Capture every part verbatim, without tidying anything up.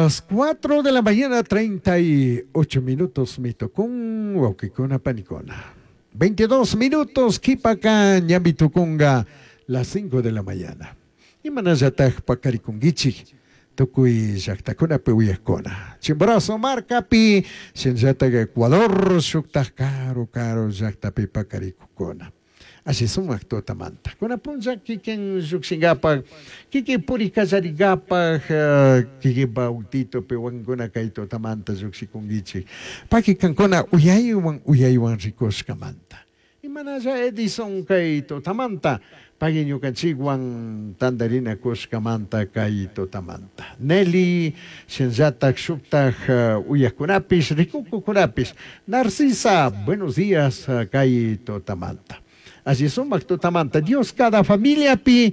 Las cuatro de la mañana, treinta y ocho minutos, mitokun, huauquicuna, panicuna. veintidós minutos, q'uipaca ñami tucunga las cinco de la mañana. Imanallataj pacarikunguichik, tukuy llaqtakunapi uyakuna. Chimborazo markapi, shinllatak Ecuador, shuktaj karu karu llaqtapi pakarikukuna. Alli sumak tutamanta. Kuna punlla kikin llukshinkapak, kikin puri kallarikapak, kikinpa autitopi wankuna kay tutamanta llukshikunkichik. Paki kankuna uyaywan uyaywan rikushkamanta. Imanalla Edison kay tutamanta, paki ñukanchikwan tantarinakushkamanta kay tutamanta. Nelly, shinllatak shuktaj uyakunapish, rikukukunapish. Narcisa, buenos días kay tutamanta. Alli sumak tutamanta. Dios cada familiapi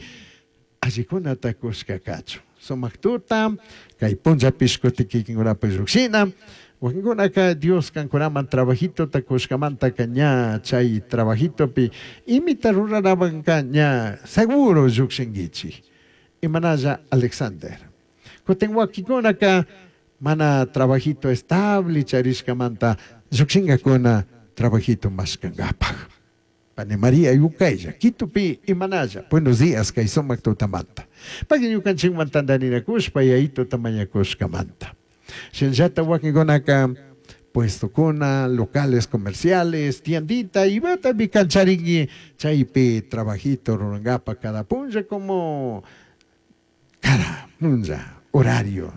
allikunata kushka kachun. Sumak tuta, kay punllapish kutin kikinkunapi llukshina. Wakinkunaka Dios kankunaman trabajitota kushkamantaka ña chay trabajitopi imita ruranamanka ña seguro llukshinkichik. Imanalla Alexander. Kutin wakinkunaka mana trabajito estable charishkamanta llukshinkakuna trabajito mashkankapak. Pani María Yukaylla, Quitupi imanalla. Buenos días kay sumak tutamanta. Paki ñukanchikman tantarinakushpa yayituta mañakushkamanta. Shinllata wakinkunaka puestokuna, locales comerciales, tiendita, imatapi kancharinki chaypi trabajito rurankapak cada punlla como cada punlla horario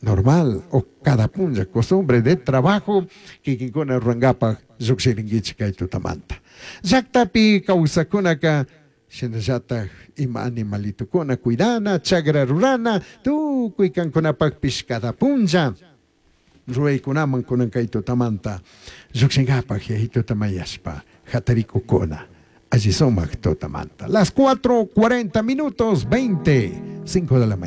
normal o cada punlla costumbre de trabajo kikinkuna rurankapak llukshirinkichik kay tutamanta. Llaktapi kawsakunaka shinallatak ima animalitukuna cuidana, chagra rurana, tukuy kankunapakpish cada punlla ruwaykunaman kunan kay tutamanta llukshinkapak yayituta mañashpa hatarikukuna. Alli sumak tutamanta. Las cuatro cuarenta minutos, veinte, cinco de la mañana.